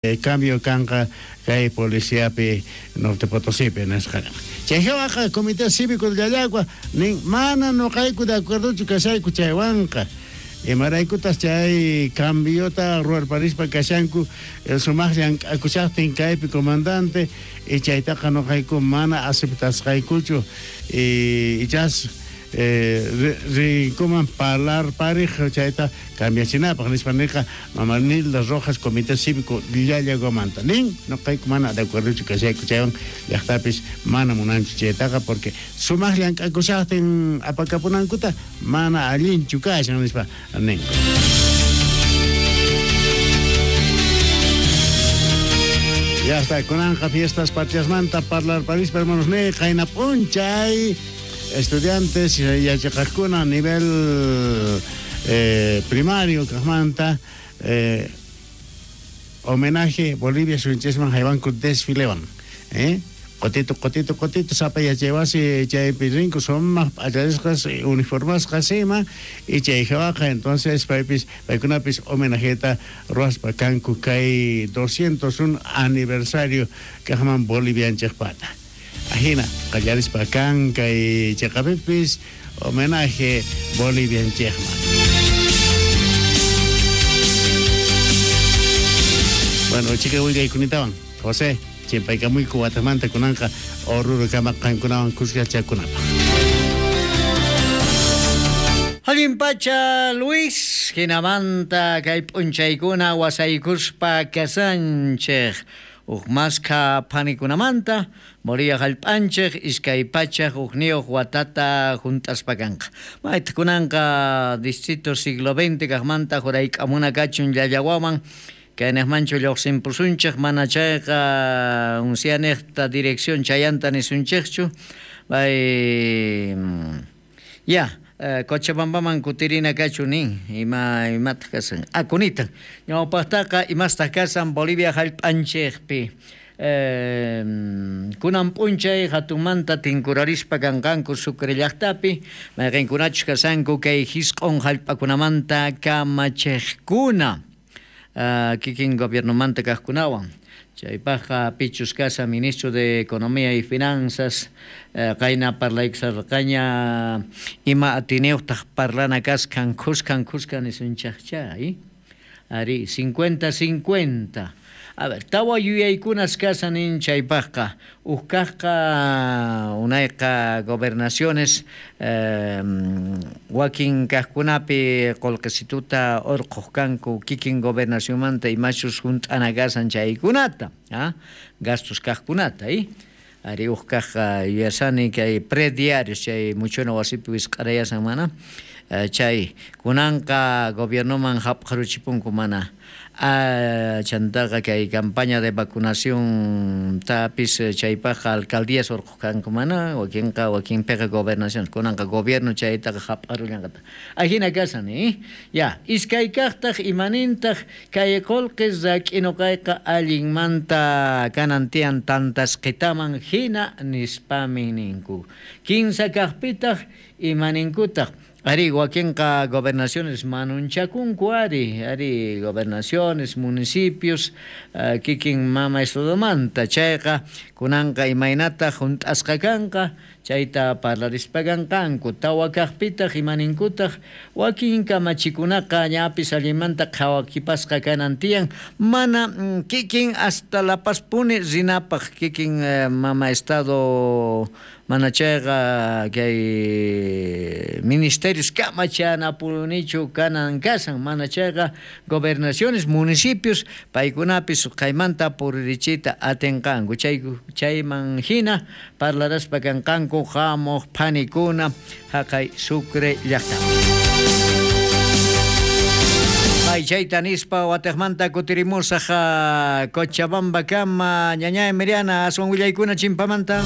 Cambio kanqa kay policiapi Norte Potosípi nisqa. Chay hawaqa Comité Cívico de Llallagua nin mana noqayku de acuerdochu kashayku chaywanqa. Imaraykutas chay cambiota ruwarparispa kashanku sumaq llank'akushaqtin kaypi comandante y chaytaqa noqayku mana aceptasqaykuchu y ichas rinkuman parlarpariq chayta cambiachinapaq nispa niqa mama Nilda Rojas Comité Cívico Llallaguamanta nin noqayku mana de acuerdochu kashayku chaywan llaqtapis mana munanchu chaytaqa porque sumaq llank'akushaqtin apakapunankuta mana allinchu kashan nispa ninku. Ya está, kunanqa fiestas patriasmanta parlarparispa hermanos ne qayna p'unchay estudiantes yachaqaqkuna nivel primario kaqmanta homenaje Bolivia suyunchisman haywanku desfilewan qotito qotito qotito sapa yachaywasi chaypi rinku sumaq p'acharisqas uniformasqas ima y chay hawaqa entonces paypis paykunapis homenajeta ruwaspa kanku kay 201 aniversario kaqman Bolivianchikpata. Ajina qallarispa kan kay chiqapipis homenaje Bolivianchikman. Bueno, chica willaykunatawan José chimpaykamuyku watamanta kunanqa Oruro kama qankunawan kuskachakunapaq. Allin pacha Luis, hinamanta kay p'unchaykuna wasaykuspa kasanchik. Uj maskha phanikunamanta Bolivia hallp'anchik iskay pachak ujniyuq watata hunt'aspa kanqa. Maytaq kunanqa distrito siglo XX kaqmanta hurayk'amuna kachun Llallawaman kaynaqmanchu lluqsimpusunchik mana chayqa unsianiqta dirección chayanta nisunchikchu. Bay ya Cochabambaman kutirina kachu nin ima imataq kasan akunitan ñawpaqtaqa imastaq kasan Bolivia hallp'anchikpi kunan p'unchay hatunmanta tinkurarispa kanqanku Sucre llaqtapi mayqinkunachus kasanku kay hisq'un hallp'akunamanta kamachiqkuna kikin gobiernomanta kaqkunawan. Chaypaqqa pichus kasa ministro de Economía y Finanzas qayna parlaykusarqaña ima atiniyuqtaq parlana kaskan khuskan khuskan nisunchaqcha ari 50-50. A ver, tawa yuyaykunas kasan nin chaypaqqa uj kaqqa unayqa gobernaciones wakin kaqkunapi qullqisituta urquq kanku kikin gobernacionmanta imachus hunt'ana kasan chaykunata, gastos kaqkunata, ari uj kaqqa yuyasani kay prediarios chay muchuna wasipi wisq'arayasan mana chay kunanqa gobiernoman hap'aruchipunku mana. Chantaqa kay campaña de vacunación tapis chaypaqqa alcaldías urquq kanku mana wakinqa wakinpiqa gobernación kunanqa gobierno chaytaqa hap'arullanqataq. Ajina kasan ya iskay kaqtaq imanintaq kay qullqi rak'inuqayqa allinmanta kanan tiyan tantasqitaman hina nispami ninku. Kinsa kaqpitaq imaninkutaq ari wakinqa gobernaciones manunchakunku ari gobernaciones municipios kikin mama estadomanta chayqa kunanqa imaynata hunt'asqa kanqa chayta parlarispa kanqanku tawa kaqpitaq imaninkutaq wakin kamachikunaqa ñapis allinmanta qhawakipasqa kanan tiyan mana kikin hasta La Pazpuni rinapaq kikin mama estado mana chayqa kay ministerios kamachanapunichu kanan kasan mana chayqa gobernaciones municipios paykunapis qaymanta puririchiyta atinqanku chayman hina parlaraspa kanqanku hamuq phanikuna haqay Sucre llaqtapi. Ay chayta nispa watiqmanta kutirimusaq Cochabamba kama ñañay Miriana aswan willaykuna chimpamanta.